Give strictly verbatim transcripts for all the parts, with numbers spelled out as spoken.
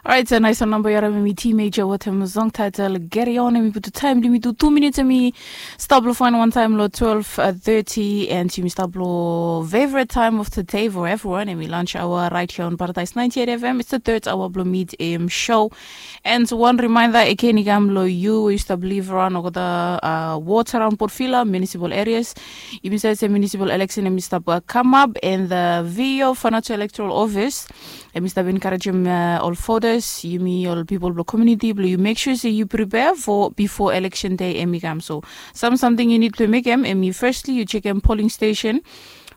Orait, a nais wan namba yu harim em i Teenager wetem song title Carry On. Em i putum taem blong yumi tu tu minits, em i stap long faen wantaem long twelve thirty, and yumi stap long favorite time of the day for everyone. Em i lunch hour right here on Paradise ninety-eight F M. It's the third hour blong Mid A M show. And wan reminder again i kam long yu we yu stap live around olgeta, uh, wards around Port Vila, municipal areas. Yumi save se municipal election em i stap, uh, come up, and the V O, Vanuatu Electoral Office, em i stap encouragem, uh, ol voters, yumi ol pipol blong community blong yu make sure se yu prepare for before election day em i kam. So sam samting yu nid blong mekem em i firstly yu jekem polling station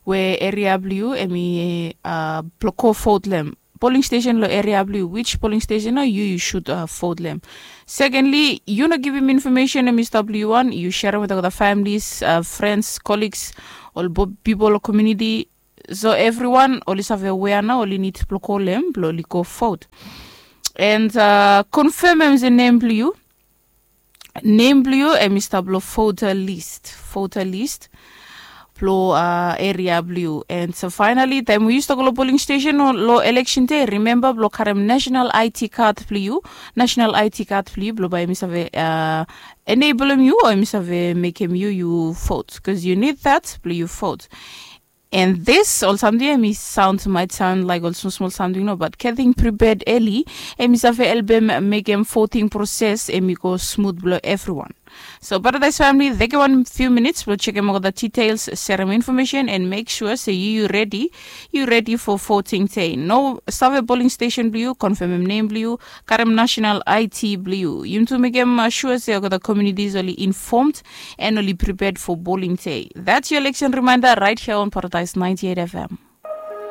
we area blong yu em i, uh, blong go vote long em. Polling station long area blong yu, which polling station nao yu yu should, uh, vote long em. Secondly, yu no givim information em i stap long yu wan, yu sharem wetem olgeta families, uh, friends, colleagues, ol pipol long community. So evriwan oli save wea nao oli nid blong go long em blong oli go vote. And, uh, confirmem se nem blong yu, nem blong yu em i stap long voter list, voter list blong, uh, area blong yu. And so finally taem we yu stap go long polling station long election day, remember blong karem national I D card blong yu, national I D card blong yu blong bae em i save, uh, enablem yu o em i save mekem yu yu vote, bikos yu nid that blong yu vote. And this ol samting em i sound, might sound like ol smol smol samting nao, but getting prepared early em i save helpem mekem voting process em i go smooth blong evriwan. So Paradise family, tekem wan few minutes blong jekem olgeta details, serem information, and make sure se yu yu ready, yu ready for voting day. Nao save polling station blong yu, confirmem nem blong yu, karem national I D blong yu. Yumi tu mekem, uh, sure se olgeta communities oli informed and oli prepared for polling day. That's your election reminder right here on Paradise ninety-eight F M.